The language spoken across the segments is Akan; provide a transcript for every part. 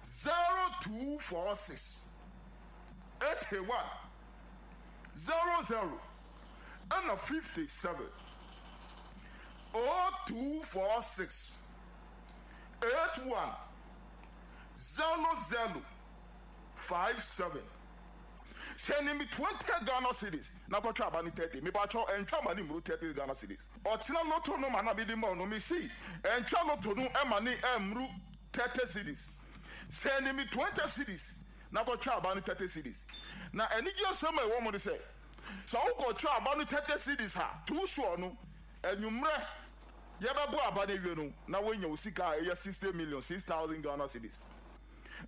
0246 81 00 ɛna 57 0246 81 00 57. Sɛne me 20 Ghana cedis na kɔtwa aba no 30. Mepakyɛw ɛntwa ma no mmuru 30 Ghana cedis. Ɔkyena lotto no ma na mede ma wo no mese ɛntwa lotto no ma no mmuru 30 cedis. Sɛne me 20 cedis na kɔtwa aba no 30 cedis. Na anigye asɛm a ɛwɔ mu ne sɛ, sɛ wokɔtwa aba no 30 cedis a, too sure no, anwummerɛ yɛbɛbɔ aba no awie no na woanya wo sika a ɛyɛ 60 million, 6,000 Ghana cedis.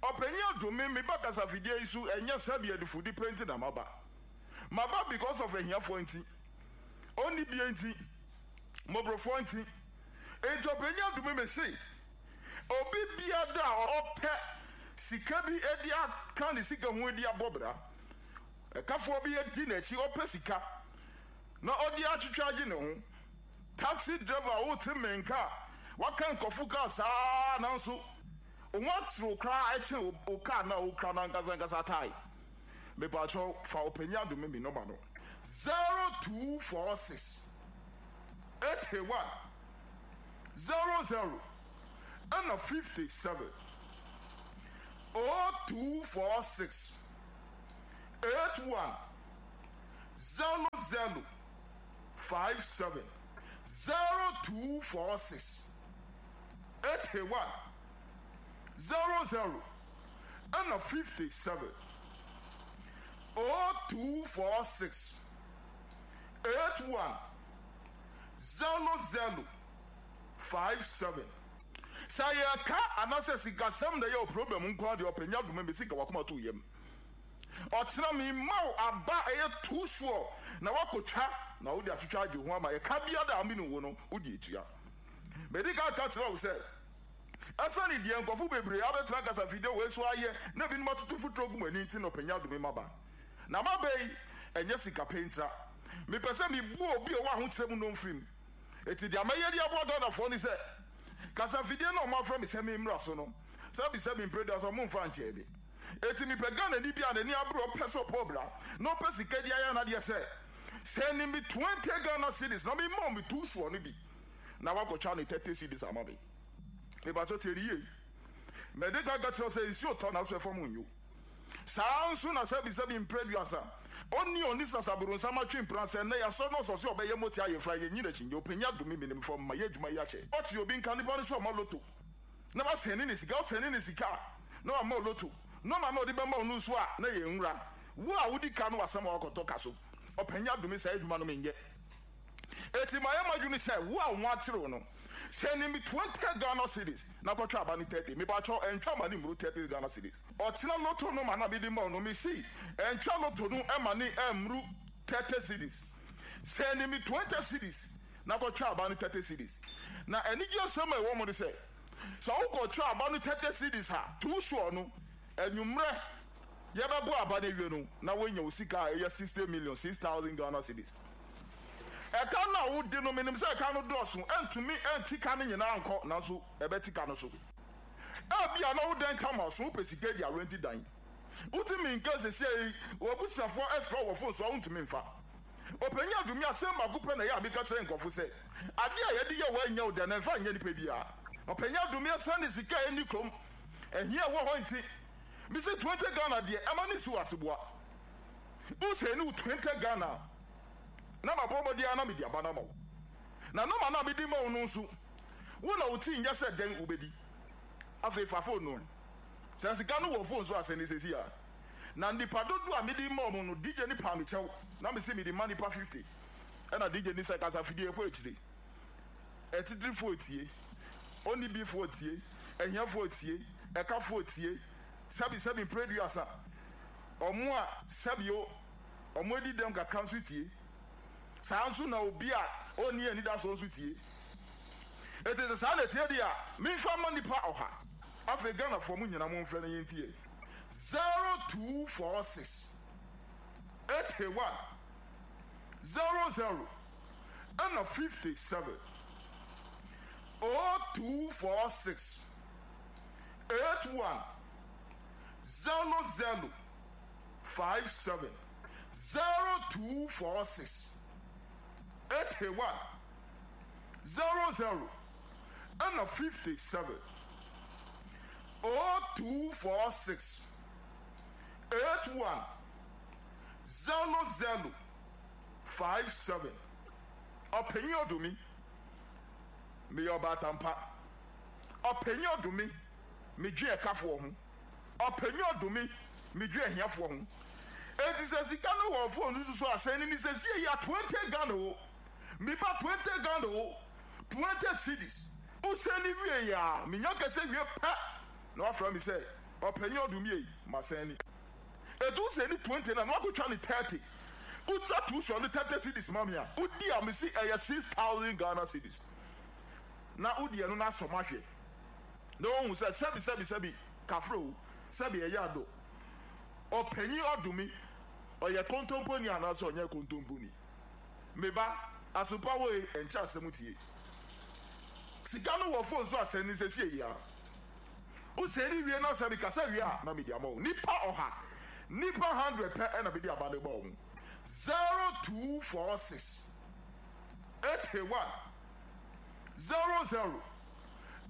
Ɔpanyin Adome, me ba kasafidie yi so ɛnyɛ sɛbi adifudi pɛ nti na maba. Maba because of ahiafoɔ nti, ɔnni bie nti, mmɔborɔfoɔ nti. Enti Ɔpanyin Adome me se, obi biada a ɔpɛ sika bi de aka ne sika ho de abɔ bra, ɛkafoɔ bi adi n'akyi ɔpɛ sika na ɔde atwitwa agye ne ho, taxi driver a wote me nka a waka nkurɔfo kaa saa nanso Wo ho akyere wo koraa ɛkyɛn wo car no a wokura no ankasa ankasa tae. Mepakyɛw fa ɔpanyin adome me nɔma no. 0246 81 00 ɛna 57 0246 81 00 57 0246 81 00 ɛna 57 0246 81 00 57. Sɛ yɛka anasɛ sikasɛm na ɛyɛ wo problem nko ara deɛ ɔpɛ nya dome me sika wakoma to yam ɔkyena me ma wo aba ɛyɛ too sure na wakɔtwa na wode atwitwa agye ho ama ɛka biara a mene wo no wode atua. Medi kan ka kyerɛɛ wo sɛ, asiane deɛ nkurɔfo bebree abɛtena kasafidie wei so ayɛ na ebinom atoto mfuturo agu m'ani nti na ɔpanyin adome m'aba. Na m'aba yi, ɛnyɛ sika pɛ ntira. Mepɛ sɛ mebua obi a ɔwɔ ahokyerɛ mu no mfirim. Enti deɛ mɛyɛ de aboa Ghanafoɔ ne sɛ, kasafidie no a wɔafrɛ me sɛ memmra so no, sɛbisɛbi mprɛduasa wɔmfa nkyɛɛ me. Enti mepɛ Ghanani bi a n'ani abere a ɔpɛ sɛ ɔbɔ bra na ɔpɛ sika de ayɛ n'adeɛ sɛ, sɛne me 20 Ghana cedis na memma wo me two soɔ no bi. na wakɔtwa ne 30 cedis ama me. Mepakyɛw tie no yie. Mede ka ka kyerɛ wo sɛ nsuo tɔ nanso ɛfam nnwo. Saa ara nso na sɛbisɛbi mprɛ aduasa, ɔnni ɔnni sasaboronsam atwe mpena sɛ nnɛ yɛasɔre na ɔsɔ sɛ ɔbɛyɛ mote ayefra yɛnyi n'akyi nyɛ ɔpanyin adome menim fam ma yɛ adwuma yi akyɛ. Ɔte obi nka nipa no sɛ ɔma loto na wasɛne ne sika, ɔsɛne ne sika a na wama wo loto, nɔma na ɔde bɛma wo no nso a na ɛyɛ nwura. Wo a wodi ka no w'asɛm a wakɔtɔ ka so. Ɔpanyin adome saa adwuma no menyɛ. Enti mayɛ m'adwene sɛ wo a wo ho akyere wo no, sɛne me 20 Ghana cedis na kɔtwa aba no 30. Mepakyɛw, ɛntwa ma no mmuru 30 Ghana cedis. Ɔkyena lotto no ma na mede ma wo no, mese ɛntwa lotto no ma no mmuru 30 cedis. Sɛne me 20 cedis na kɔtwa aba no 30 cedis. Na anigye asɛm a ɛwɔ mu ne sɛ, sɛ wokɔtwa aba no 30 cedis a, too sure no, anwummerɛ yɛbɛbɔ aba no awie no, na woanya wo sika a ɛyɛ 60 million, 6,000 Ghana cedis. Ɛka no a wode no, menim sɛ ɛka no dɔɔso, ɛntumi nte ka no nyinaa nkɔ, nanso ɛbɛte ka no so. Ebia na wo dan ka ma so, wopɛ sika de arɛnti dan. Wotumi nka seesei yi, w'abusuafoɔ frɛ wo wɔ fon so a, wontumi mfa. Ɔpanyin Adumi, asɛm baako pɛ na ɛyɛ a meka kyerɛ nkurɔfo sɛ, Ade a yɛde yɛ wo a ɛnyɛ wo dɛ no, ɛmfa nyɛ nipa biara. Ɔpanyin Adumi, esiane sika a enni kurom, ahia a ɛwɔ hɔ nti, mise 20 Ghana deɛ, ɛma no nsi wo aseboa. Wo sɛ ɛne wo 20 Ghana a, na mabɔ mmɔden ara na mede aba no ama wo. Na nɔma no a mede ma wo no nso, wo na wo ti nyɛ sɛ dɛn wobɛdi. Afei fa fon no. Sɛ sika no wɔ fon so a, sɛne seesei ara. Na nnipa dodoɔ a mede ma wɔn no, DJ no paa me kyɛw, na mese mede ma nnipa 50. Ɛna DJ no sɛ, kasafidie kɔ akyire. Atitirifoɔ tie, onibifoɔ tie, ahiafoɔ tie, ɛkafoɔ tie, sɛbisɛbi mprɛduasa, wɔn a sɛbio wɔadi dɛm kakra nso tie. Saa ara nso na obi a onni anidasoɔ nso tie. Enti sɛ saa na ɛteɛ deɛ a, memfa mma nnipa ɔha. Afei Ghanafoɔ mo nyinaa momfrɛ na yɛntie. 0246 81 00 ɛna 57 0246 81. 00 57 0246 81 00 ɛna 57 0246 81 00 57 Ɔpanyin Ɔdumi, meyɛ ɔbaatan pa. Ɔpanyin Ɔdumi, medwen ɛkafoɔ ho. Ɔpanyin Ɔdumi, medwen ahiafoɔ ho. Enti sɛ sika no wɔ phone no so a, sɛn ni sɛsie yi a 20 Ghana o, me ba 20 Ghana o, 20 cedis. Wo sɛn ni wie a, menya kɛsɛ wie pɛ na wafrɛ me sɛ Ɔpanyin Ɔdumi ei, masɛn ni. Edu sɛ ni 20 na na wakɔtwa ne 30. Wotwa tuition no 30 cedis ma me a, wodi a mese ɛyɛ 6000 Ghana cedis. Na wodi ɛno na asɔ mahwɛ. Na wohu sɛ sɛbi sɛbi sɛbi kafra o, sɛbi ɛyɛ ado. Ɔpanyin ɔdome, ɔyɛ kontomponi anaasɛ ɔnyɛ kontomponi? Me ba, asopa wo e, ɛnkyɛ asɛm tie. Sika no wɔ phone so a sɛn ne sɛsie yi ara. Wo sɛn wie na sɛ mekasa wie a na mede ama wo. Nipa ɔha, nipa hundred pɛ na mede aba no ba wɔn. 0246 81 00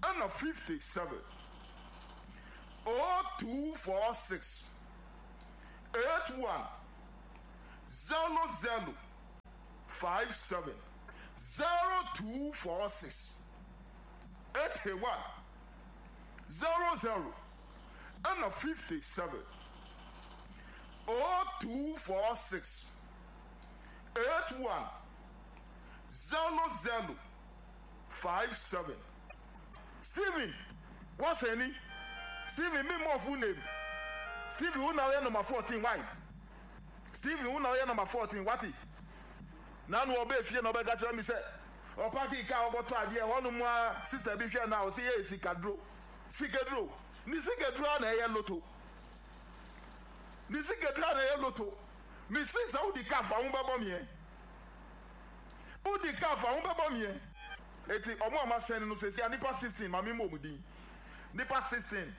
ɛna 57 0246 81 00 57 0246 81 00 ɛna 57 0246 81 00 57 Steven what's ni Steven me mmɔ full name Steven wo na woyɛ number 14 why Steven wo na woyɛ number 14 wate na no ɔbɛ fie na ɔbɛka kyerɛ me sɛ ɔpaki kaa ɔkɔtɔ adeɛ hɔnom a sister bi hwɛ no a ɔsɛ yɛ sikaduro sikaduro ne sikaduro a na ɛyɛ loto ne sikaduro a na ɛyɛ loto mesi sɛ wodi kaa fa ho bɛbɔ meɛ wodi kaa fa ho bɛbɔ meɛ eti ɔmo a masɛn no sɛsi a nipa 16 maame mmɔ ɔmo din nipa 16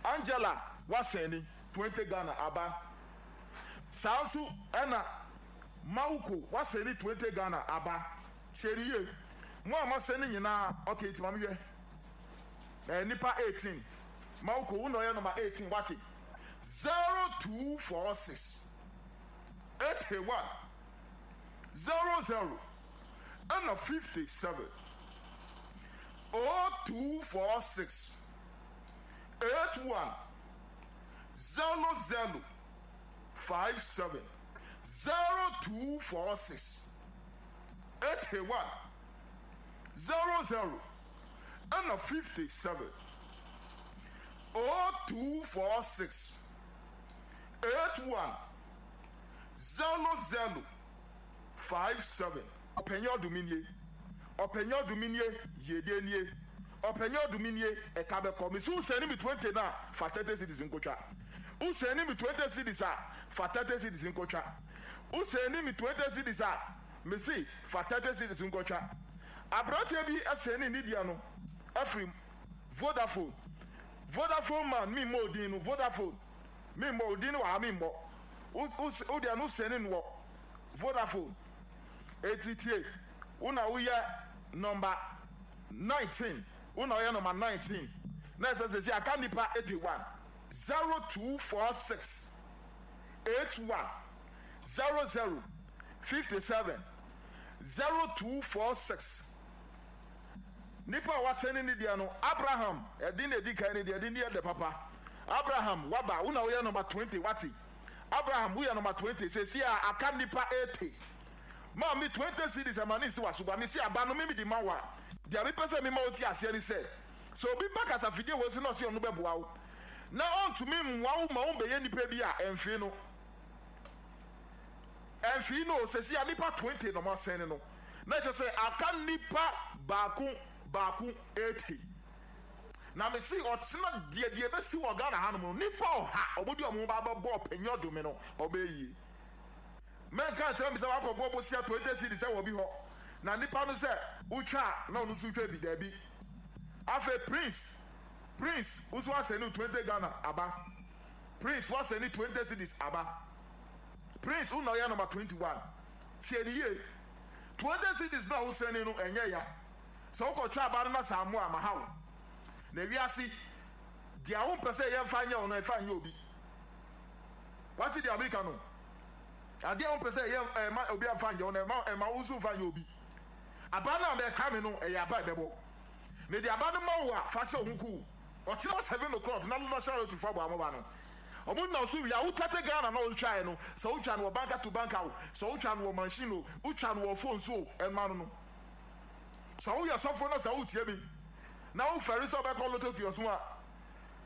Angela wasɛn ni 20 Ghana aba saa nso ɛna Mawuko wasɛn ni 20 Ghana aba kyerɛ ni yie mo a masɛn ni nyinaa okay nti maame hwɛ ɛɛ nipa 18 Mawuko wo na ɔyɛ number 18 wate 0246 81 00 ɛna 57 0246 81 00 57 0246 81 00 ɛna 57 0246 81 00 57. Ɔpanyin ɔdome nie, ɔpanyin ɔdome nie, yiedie nie, ɔpanyin ɔdome nie, ɛka bɛkɔ. Mese wo sɛne me 20 no a, fa 30 cedis nkotwa. Wo sɛne me 20 cedis a, fa 30 cedis nkotwa. Wo sɛne me 20 cedis a, mese fa 30 cedis nkotwa. Aberanteɛ bi sɛne ne deɛ no afiri Vodafone. Vodafone man, memmɔ odin no, Vodafone, memmɔ odin no wɔ ha, memmɔ. Wo, wo, wo deɛ no sɛne no wɔ Vodafone. Eti tie, wo na woyɛ nɔmba 19, wo na woyɛ nɔmba 19. Na ɛsɛ sɛ sɛ aka nipa 81. 0246 81 00 57 0246 Nipa a wasɛne ne deɛ no, Abraham, ɛde na edi kan ne deɛ, ɛde ne yɛ dɛ papa. Abraham, waba, wo na woyɛ nɔmba 20, wate? Abraham, woyɛ nɔmba 20, seesei a aka nnipa 80. Ma me 20 cedis ɛma ne nsi w'asoboa. Mese aba no me mede ma wo a, deɛ mepɛ sɛ mema wote aseɛ ne sɛ, sɛ obi ba kasafidie wei so na ɔse ɔno bɛboa wo, na ɔntumi mmoa wo ma wombɛyɛ nipa bi a, ɛmfee no. Ɛmfee no o, seesei a nnipa 20 na wɔasɛne no, na kyerɛ sɛ aka nnipa baako baako 80. Na me se ɔkyena deɛ deɛ ɛbɛsi wɔ Ghana hanom no nipa ɔha ɔmo de ɔmo ho ba bɛbɔ ɔpanyin ɔdome no ɔbɛyɛ yie. Mɛnka nkyerɛ me sɛ wakɔ bɔ bosia 20 cedis ɛwɔ bi hɔ na nipa no sɛ wotwa a na ɔno nso twa bi daabi. Afei Prince Prince wo nso asɛne wo 20 Ghana aba. Prince woasɛne 20 cedis aba. Prince wo na ɔyɛ number 21. Tie no yie. 20 cedis no a wosɛne no ɛnyɛ ya. Sɛ wokɔtwa aba no na sɛ ammoa a maha wo. Na wiase deɛ wompɛ sɛ yɛmfa nyɛ wo no ɛmfa nyɛ obi. Wate deɛ meka no? Adeɛ a wompɛ sɛ yɛ ɛma obi amfa nyɛ wo no ɛma ɛma wo nso mfa nyɛ obi. Aba no a bɛka me no ɛyɛ aba a ɛbɛbɔ. Mede aba no ma wo a fa hyɛ wo ho kuw. Ɔkyena 7 o'clock na national lottery fo abɔ amoba no. Ɔmo nam so wie a wotwate Ghana na ɔtwaeɛ no sɛ wotwa no wɔ banka to banka o, sɛ wotwa no wɔ machine o, wotwa no wɔ phone so o, ɛno ano no. Sɛ woyɛ sɔfo na sɛ wotie me na wofɛre sɛ wobɛkɔ lotto kiosk mu a,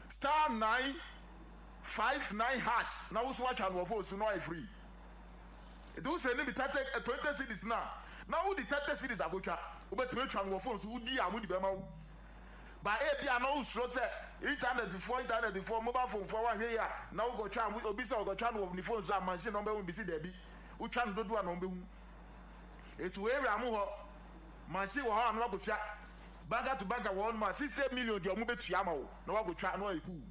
*959# na wo so watwa no wɔ phone so na wayɛ free. Nti wo sɛ ne bi 30 20 cedis na na wode 30 cedis akotwa, wobɛtumi atwa no wɔ phone so wodi a mode bɛma wo. Ba ebi a na wosuro sɛ internet foɔ internet foɔ mobile phone foɔ wanhwɛ yi a na wokɔtwa obi sɛ ɔkɔtwa no wɔ ne phone so a machine na ɔbɛhu bi si daabi wotwa no dodoɔ a na ɔbɛhu. Eti wɔ area mo hɔ machine wɔ hɔ a na wakɔtwa banka to banka wɔ hɔ nom a 60 million deɛ ɔmo bɛtua ama wo na wakɔtwa na wayɛ cool.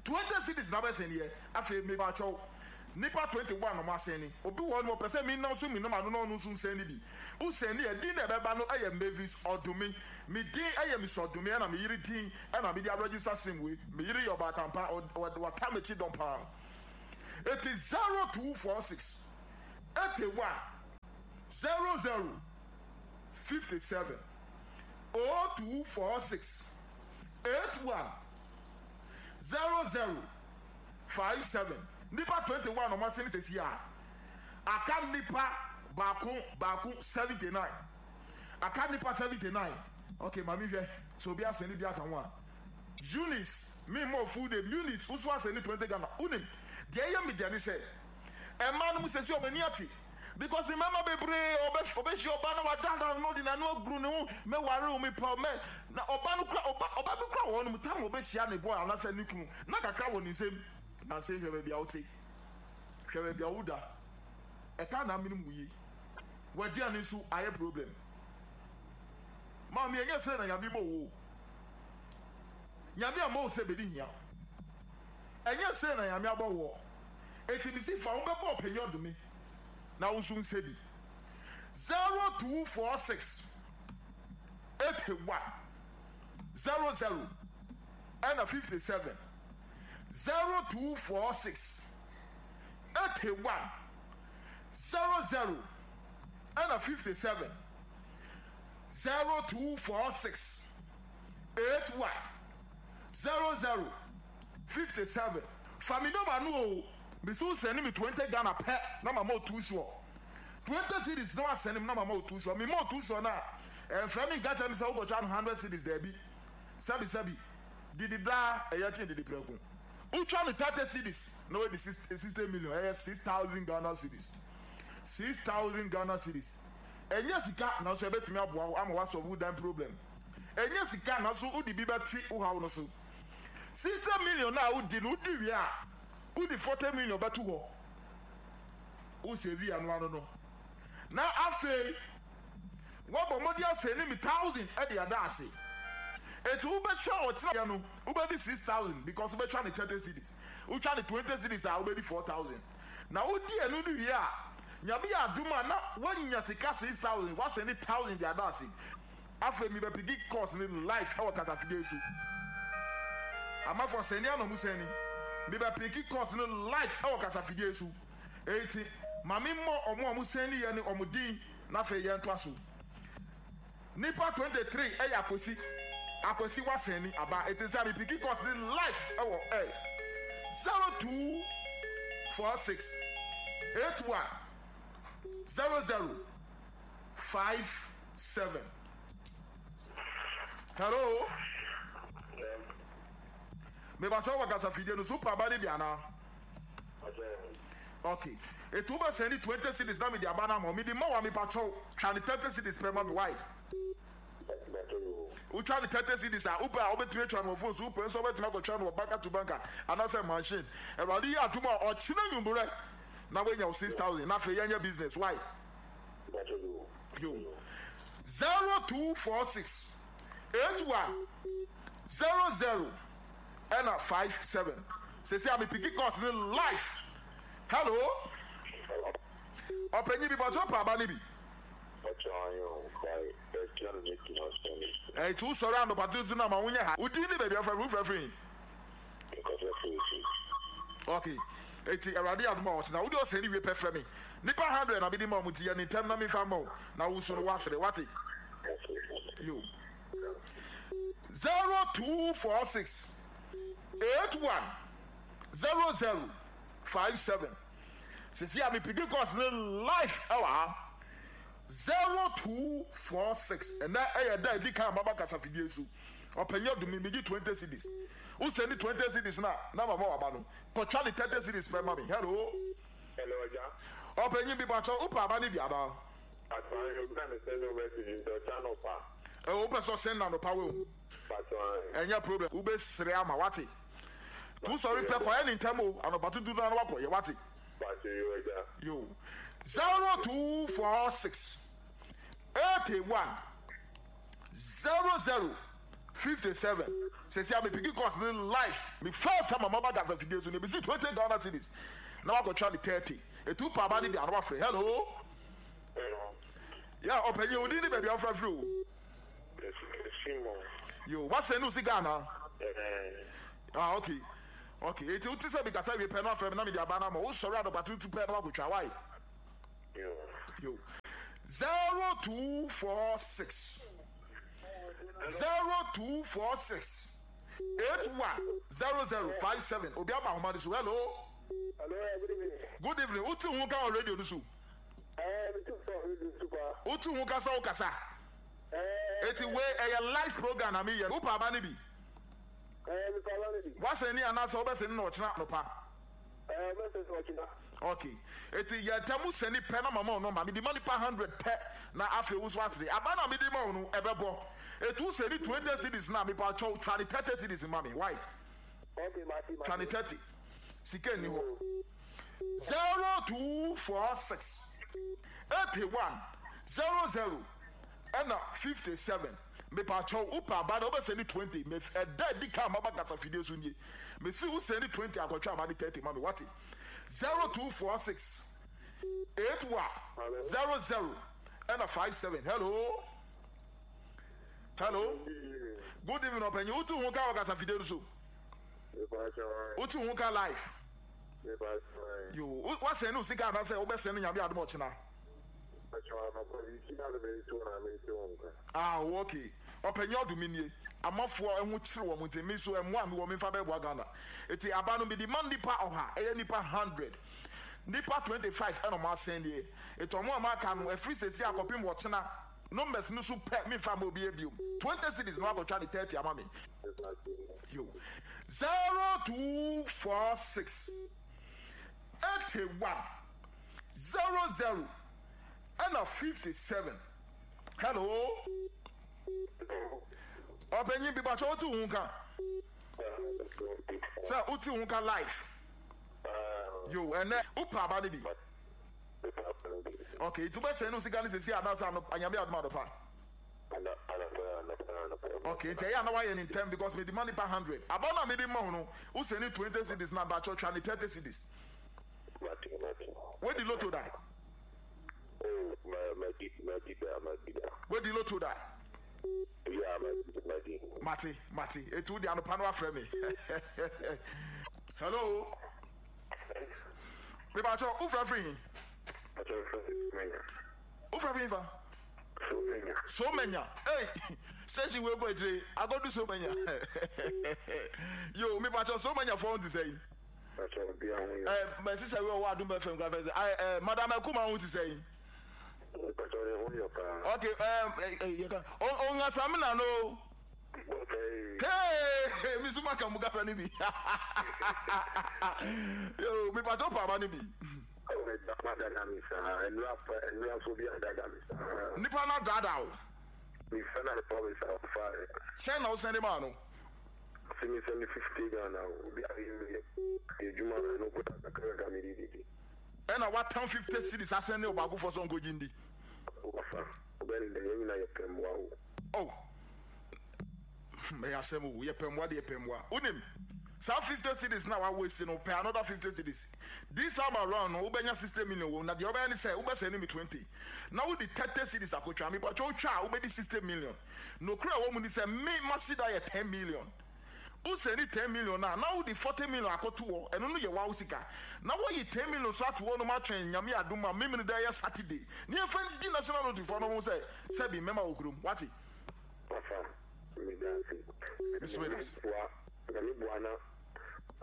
20 cedis na wobɛsɛn yɛ afei mepakyɛw nipa 21 na ɔmo asɛn obi wɔ hɔ nom ɔpɛ sɛ menam so menom ano na ɔno nso nsɛn ne bi wosɛn ne ɛdin na ɛbɛba no ɛyɛ Mavis Ɔdome. Me din ɛyɛ Miss Ɔdome ɛna me yere din ɛna mede aregister sim wei. Me yere yɛ ɔbaatampa, wata m'akyi dɔm paa. Eti 0246 81 00 57 0246 81 00 57. Nipa 21 ɔmo asɛn sɛsi a aka nipa baako baako 79. Aka nnipa 79. Ok ma me hwɛ sɛ obi asɛne bi aka ho a. Eunice, me mmɔ full name, Eunice wo so asɛne 20 Ghana. Wonim, deɛ ɛyɛ me dɛ ne sɛ, mmaa no mu sɛsi wɔn ani ate because mmarima bebree ɔbɛ ɔbɛhyia ɔbaa na wadaadaa no de n'ano aguru ne ho, mɛware wo mepɛ wo mɛ na ɔbaa no kura ɔba ɔba bi kura wɔ hɔ nom tam ɔbɛhyia ne boy anaasɛ ne kunu na kakra wɔ ne nsam. Nansa yi hwɛ baabi a wote, hwɛ baabi a woda, ɛka na amenem wo yi. W'aduane nso ayɛ problem. Maame ɛnyɛ sɛ na Nyame bɔ wo o. Nyame ammɔ wo sɛ bɛdi hia. Ɛnyɛ sɛ na Nyame abɔ woɔ. Enti mesi fa wo bɛbɔ ɔpanyin ɔdome na wo nso nsɛ bi. 0246 81 00 ɛna 57 0246 81 00 ɛna 57 0246 81 00 57. Fa me number no o, mese wo sɛne me 20 Ghana pɛ na mama wo too sure. 20 cedis na wasɛne me na mama wo too sure. Mema wo too sure no a, ɛmfrɛ me nka kyerɛ me sɛ wokɔtwa no 100 cedis daabi. Sɛbi sɛbi, didi daa ɛyɛ kyen didi prɛko. Wotwa no 30 cedis na wadi 60 million, ɛyɛ 6,000 Ghana cedis. 6,000 Ghana cedis. Ɛnyɛ sika nanso ɛbɛtumi aboa wo ama woasɔlve wo dan problem. Ɛnyɛ sika nanso wode bi bɛte wo haw no so. 60 million no a wodi no wodi wie a, wode 40 million bɛto hɔ. Wo save ano ano no. Na afei woabɔ mmɔden asɛne me thousand de ada ase. Enti wobɛtwa ɔkyena yɛ no wobɛdi 6,000 because wobɛtwa ne 30 cedis. Wotwa ne 20 cedis a wobɛdi 4,000. Na wodi ɛno no wie a, Nyame yɛ adom a na woanya sika 6,000, woasɛne 1,000 de ada ase. Afei mebɛpiki course no live ɛwɔ kasafidie so. Amafoɔ sɛne a na ɔmo sɛne. Mebɛpiki course no live ɛwɔ kasafidie so. Enti ma me mmɔ ɔmo a ɔmo sɛne yɛ no ɔmo din na afei yɛntoa so. Nipa 23 ɛyɛ Akwasi. Akwasi wasɛne aba. Enti sɛ mepiki course no live ɛwɔ air. 0246 81 00 57. Hello. Mebakyɛ wɔ kasafidie no so wopɛ aba no bi anaa? Okay. Etu wobɛ sɛn ne 20 cedis na mede aba no ama wo. Mede ma wo a mepakyɛw twa ne 30 cedis pɛ ma me why? Wotwa ne 30 cedis a wopɛ a wobɛtumi atwa no wɔ phone so, wopɛ nso wobɛtumi akɔtwa no wɔ banka to banka anaasɛ machine. Awurade yɛ adom a ɔkyena nwummerɛ na woanya wo 6000 na afei yɛnyɛ business why? Yo. 0246 81 00 ɛna 57. Sɛsi a me piki course ne life. Hello. Ɔpanyin bi bɔtɔ pa aba ne bi. Ɛti wo sɔre anɔpa tuntun na ma wonyɛ ha. Wo din ne baabi afrɛfrɛ wo frɛfrɛ yi. Okay. Eti Awurade adom a ɔkyena wode ɔsɛn ne wie pɛ frɛ me. Nipa 100 na mede ma ɔmo nti yɛ ne ntɛm na memfa mma wo na wo nso no woasere wate. Yo. 0246 81 00 57 Sisi a mepidi course ne life ɛwɔ ha. 0246 ɛnɛ ɛyɛ da edi kan maba kasafidie so. Ɔpanyin ɔdumi megye 20 cedis. Wo send 20 cedis na na mama waba no. Kɔtwa ne 30 cedis pɛ ma me. Hello. Hello agya. Ɔpanyin bi pakyɛ wopɛ aba ne bi anaa? Pakyɛ ahe obi na me send wo message nti ɔkyɛ anɔpa. Ɛwɔ wopɛ sɛ ɔsend no anɔpa wɔ Pakyɛ ahe. Ɛnyɛ problem wobɛ srɛ ama wate. To sɔre pɛ kɔyɛ ne ntɛm o anɔpa tutu na wakɔ yɛ wate. Pakyɛ yo agya. Yo. 0246 81 00 57 sɛsi a me piki course ne life me first time a maba Gaza fidie so ne bisi 20 Ghana cedis na wakɔtwa ne 30 etu pa aba ne bi ano wafrɛ hello. Ya ɔpanyin odin ne baabi afra firi o. Yo wasɛn ne osi Ghana. Ah okay okay eti wote sɛ bikasa wie pɛ no afrɛ me na mede aba no ama wo sɔre anɔpa tutu pɛ na wakɔtwa why. Yo 0246 0246 810057 obi aba ahoma no so hello. Hello, good evening. Good evening. Wotu ho ka wɔ radio no so. Wotu ho kasa wo kasa. Eti wei ɛyɛ live program na meyɛ. Wopɛ aba no bi? Wasɛn ni anaasɛ wobɛsɛn ni na ɔkyena anɔpa? Ok. Eti yɛ ntɛm sɛni pɛ na mama wo nɔmba. Mede ma nipa 100 pɛ na afei wo so asere. Aba na mede ma wo no ɛbɛbɔ. Eti wo sɛni 20 cedis na mepa kyɛw twa ne 30 cedis ma me. Why? Twa ne 30. Sika nni hɔ. 0246 81 00 ɛna 57 mepakyɛw wopɛ aba na wobɛsɛne 20 me ɛda adi kan maba kasa fidie so nie mesi wo sɛne 20 akɔtwe aba ne 30 ma me wate 0246 81 00 ɛna 57 hello hello good evening ɔpanyin wotu ho ka wɔ kasa fidie no so wotu ho ka live Yo, woasɛn ne wo sika anaasɛ wobɛsɛn no Nyame adom ɔkyena? Ah, oh, okay. Ɔpanyin ɔdo me nie. Amafoɔ ɛho kyere wɔn nti me nso ɛmoa a mewɔ memfa bɛboa Ghana. Eti aba no mede ma nnipa ɔha, ɛyɛ nnipa 100. Nnipa 25 ɛna wɔn asɛn deɛ. Eti wɔn a wɔaka no ɛfiri sɛsi akɔpem ɔkyena numbers no so pɛ memfa mma obiara biom. 20 cedis na wakɔtwa ne 30 ama me. Yo. 0246 81 00 ɛna 57. Hello. Ɔpanyin bi bakyɛ wotu ho ka. Sɛ wotu ho ka life. Yo, ɛnɛ wopɛ aba no bi. Okay, nti wobɛsɛn no sika no sɛsi anaasɛ anyame adom adɔpa. Okay, nti ɛyɛ a na wayɛ ne ntɛm because mede ma nipa hundred. Aba no a mede ma wo no, wo sɛni 20 cedis na mpakyɛw twa ne 30 cedis. Wadi lotto da? Oh, ma madi madi da madi da. Wadi lotto da? Yeah, madi madi. Mate mate, eti wo de anopa no afrɛ me. Hello. Me pakyɛw, wo frɛ firi he? Pakyɛw frɛ firi. Wo frɛ firi fa? Somenya. Somenya. Hey, station wei kɔ akyire. Akɔdu Somenya. Yo, me pakyɛ Somenya fo te sɛ yi. Pakyɛ obi aho yɛ. Eh, my sister wei ɔwɔ Adum FM kura fɛ sɛ. Eh, eh, Madam Akuma ho te sɛ yi. Pakyɛ ɔne ho yɛ paa. Okay, eh, eh, yɛ ka. Ongasamina no. Okay. Hey, mi suma ka mu kasa ni bi. Yo, mi pakyɛ paaba ni bi. Nipa no adaadaa wo. Sɛn na wosɛnde maa no? Ɛna watam 50 cedis asɛnde ɔbaakofoɔ sɛ ɔnkɔgye ndi. Oh, ɛyɛ asɛm o, yɛpɛ mmoa de yɛpɛ mmoa. Wonim? Saa 50 cedis no a wa waste no, pɛ another 50 cedis. This time around no, wobɛnya 60 million wɔ mu, na deɛ wobɛyɛ ne sɛ, wobɛ sɛne me 20, na wode 30 cedis akotwa. Mepakyɛ wotwa a, wobɛdi 60 million. Nokorɛ a ɛwɔ mu ne sɛ, me m'aseda yɛ 10 million. Wo sɛne 10 million no a, na wode 40 million akɔto hɔ, ɛno no yɛ wawo sika. Na woayi 10 million nso ato hɔ nom atwɛn Nyame adom a Memeneda yɛ Saturday, na yɛmfa ndi National Lottery foɔ no ho sɛ sɛbi mmɛma wɔ kurom. Wate? Papa, meda ase. Me nso meda ase. Boa, Nyame boa na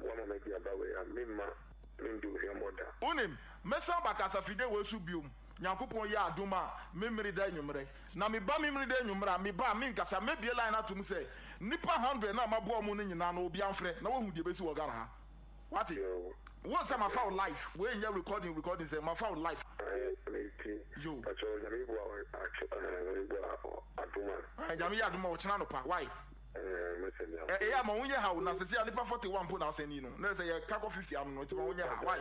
wama madi aba wei a, memma mendi wo hwammɔ da. Wonim, mɛsan aba kasafide wei so biom, Nyankopɔn yɛ adom a, Memeneda anwummerɛ. Na meba Memeneda anwummerɛ a, meba a, menkasa, mɛbue line atom sɛ, nnipa hundred no a maboa wɔn no nyinaa no, obiara mfrɛ, na wahu deɛ ɛbɛsi wɔ Ghana ha. Wate? Yoo. Wohu sɛ mafa wo life, wei nyɛ recording recording sɛ, mafa wo life. Ae, meti. Yoo. Pakyɛw, Nyame boa wo a, Nyame boa adom a. Ae, Nyame yɛ adom a, ɔkyena anɔpa, wai? Ɛɛ, ɛyɛ a ma wo nyɛ ha o, na sɛsɛ a nipa 41 mpo na asɛn yi no, na ɛsɛ yɛ ka kɔ 50 ano no, nti ma wo nyɛ ha, why?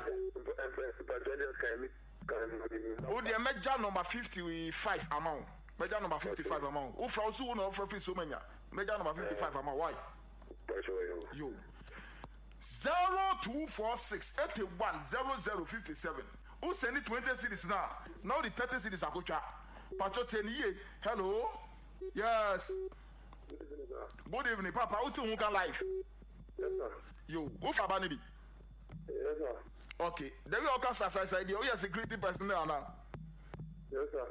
Wo deɛ mɛgya number 55 ama wo, mɛgya number 55 ama wo, wo fra wo so wo na ɔfra firi so manya, mɛgya number 55 ama wo, why? Yo. 0246 81 00 57 wo sɛni 20 cedis no a, na wode 30 cedis akotwa, patro tie ne yie, hello, yes. Good evening papa wote ho ka live. Yes sir. Yo, wo fa ba ne bi. Yes sir. Okay, dabi a ɔka sa sa sa deɛ woyɛ security person ana? Yes sir.